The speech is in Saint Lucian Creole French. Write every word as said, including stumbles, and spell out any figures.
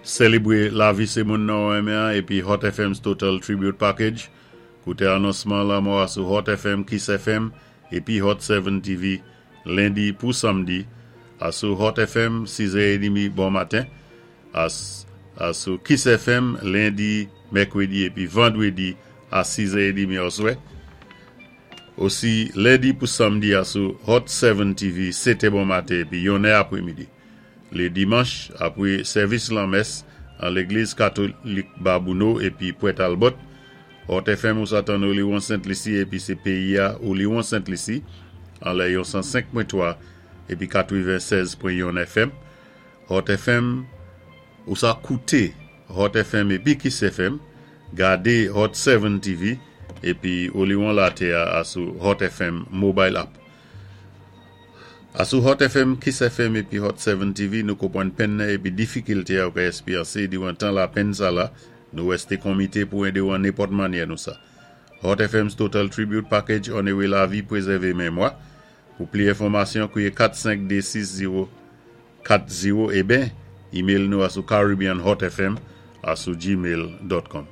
Sélébwé lavi sé moun nou renmen épi Hot F M's Total Tribute Package. Kouté anonsman lanmò a sou Hot F M, Kiss F M épi Hot sept T V lendi pou samdi. A sou Hot F M sis è trant bon maten. A, a sou Kiss F M lendi, mèkwédi épi vandwédi a sis è trant oswè. Osi lendi pou samdi a sou Hot sept T V sèt è bon maten épi yon è apwémidi. Lé dimanch apwé sèvis lanmès an légliz katolik Babouno épi Pwent Talbot, Hot F M ou sa tann Oliwon Sent Lisi épi sé péyi-a Oliwon Sent Lisi an lè yon san senk pwen twa épi katwennsèz pwen yon F M. Hot F M ou sa kouté Hot F M épi Kiss F M, gadé Hot sept T V épi Oliwon latè a sou Hot F M Mobile App. A sou Hot F M, Kiss F M épi Hot sept T V, nou konpwann penn épi difikilté a ou ka èspéryansé diwan tan lapenn sa la, nou wèsté komité pou édé ou an nenpòt mannyè nou sa. Hot F M's Total Tribute Package onoré lavi, pwézèvé mémwa. Pou pli enfòmasyon, kwiyé kat senk dé sis zéwo kat zéwo é ben, email nou a sou caribbeanhotfm a sou gmail dot com.